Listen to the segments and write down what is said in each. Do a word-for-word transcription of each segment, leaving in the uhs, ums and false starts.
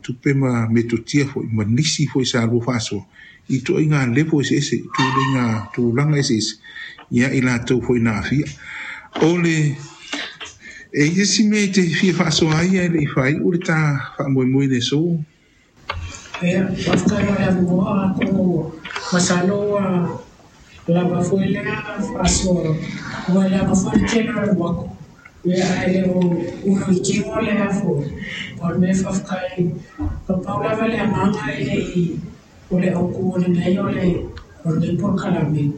tupe ma metotia foi ma nisi foi sa lua faasoa i ituaiga level eseese i tuleiga tulaga eseese ia i latou foi na aafia. O le e i ai si mea e te fia faasoa ai ae le'i faai'u le tā faamoemoe i le aso. Ia, faafetai mo le avanoa. Atonu masalo ua lava foi lea faasoa, ua leaga foi le tele o le uaku, ia ae le o uluitino lea foi. O le mea faafetai, na pau lava le agaga e le i o le autu o lenei o le o lenei polokalame,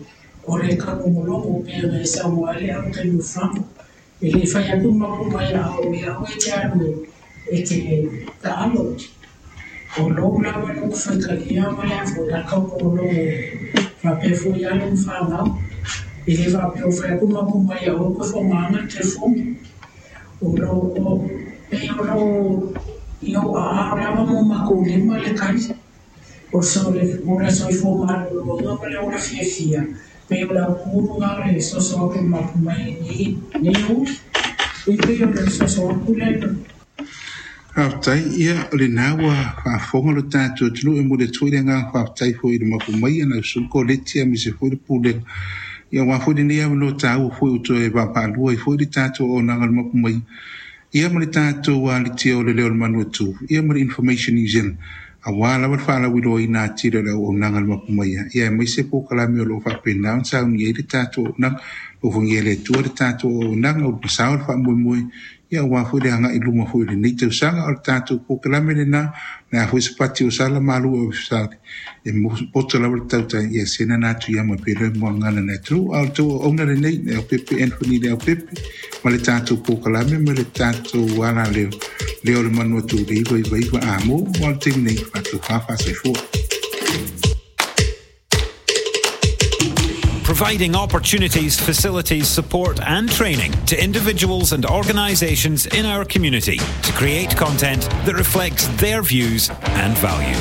o le taugologologo pei ona e saunoa ai le au taimi o fagu. E le i fai atu le mapu mai a o ia oe e te alu e te taalo. O lou lava loto faitalia ma le a foi a taugologologo faapea foi alo ma fanau. E le faapea o fai atu mapu mai a oe koe faaaogaina le telefoni. O lo o pei o lo i ou aao lava ma o matou lima le tali. O le soifua maloloina ma le ola fiafia, pei o le autu lena o le soso atu i le mapu mai i lenei aoauli. E pei o le soso atu lea. Faafetai, ia o lenā ua faafofoga lo tatou atunuu e momoli atu foi le agaga faafetai foi i le mapu mai ana usuga Koleti aemaise foi le Pulega ia aua foi lenei avanoa taua foi ua toe vaavaalua ai foi le tatou auaunaga o le mapu mai ia ma le tatou alitia o le Leo o le Manu Atu ia ma le Information New Zealand aua lava le faalauiloaina atili o le auaunaga a le mapu mai ia aemaise polokalame o loo faapena ona saunia ai le tatou auaunaga. Alofagia e le Atua le tatou auaunaga ua masao le faamoemoe ia aua foi le agai i luma foi o lenei tausaga. O le tatou polokalame lenā le a foi se pati o sala malu o e poto lava le tautai ia sena na atu ia ma pele mo ngana na atunuu. A o le tou auauna lenei Leaupepe Anthony Leaupepe ma le tatou polokalame ma le tatou ala leo leo o le manu atu le iva iva iva a mo mo le taimi nei faatofa faasoifua. Providing opportunities, facilities, support and training to individuals and organisations in our community to create content that reflects their views and values.